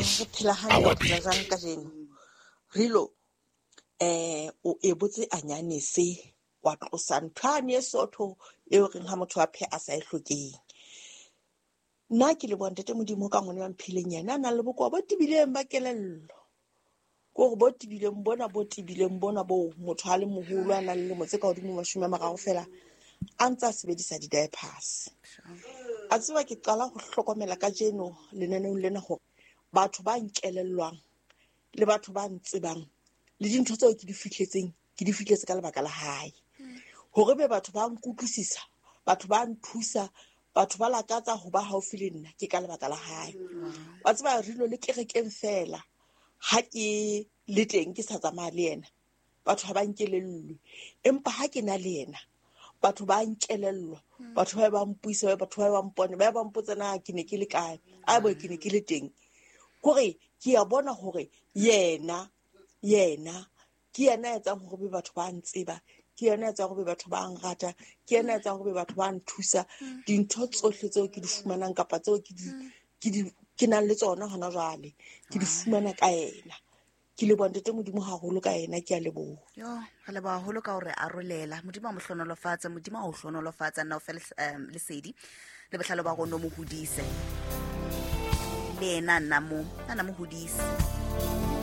Voice, Re phela hantle, our o phela beat. jwang kajeno? Rilo, o ebotse anyanese wa tlosa ntho yane e sootho eo reng ha motho a pheha a sa e hlokeng. Nna ke leboha Ntate Modimo ka ngwana wa mphileng yena a nang le bokowa bo tebileng ba kelello. Ke hore bo tebileng bona, bo tebileng bona boo motho a le moholo a nang le lemo tse ka hodimo 30 feela a ntse a sebedisa di-diapers. A tseba ke qala ho hlokomela kajeno lenaneong lena hore batho ba nkelellwang le batho ba ntsebang le dintho tseo ke di fihletseng, ke di fihletse ka lebaka la hae. Hore be batho ba nkutlwisisa, batho ba nthusa, batho ba lakatsa ho ba haufi le nna ke ka lebaka la hae. Wa tseba Rilo le kerekeng feela ha ke le teng ke sa tsamaya le yena, batho ha ba nkelellwe. Empa ha ke na le yena, batho ba nkelellwa, batho ba ba mpuisa, batho ba ba mpone, ba ba mpotsa na ke ne ke le kae, a bo ke ne ke le teng. Kore ke a bona hore yena ke yena ya etsang hore be batho ba ntseba, ke yena ya etsang hore be batho ba nrata, ke yena ya etsang hore be batho ba nthusa. Dintho tsohle tseo ke di fumanang kapa tseo ke di, ke di, ke nang le tsona hona jwale, ke di fumana ka yena. Ke leboha Ntate Modimo haholo ka yena, ke a leboha. Yo, re leboha haholo ka hore arolela. Modimo a mo hlohonolofatse, Modimo a o hlohonolofatse, nna o fe lesedi le bohlale ba rona o mo hodise. Le yena a nna mo, a nna mo hodise.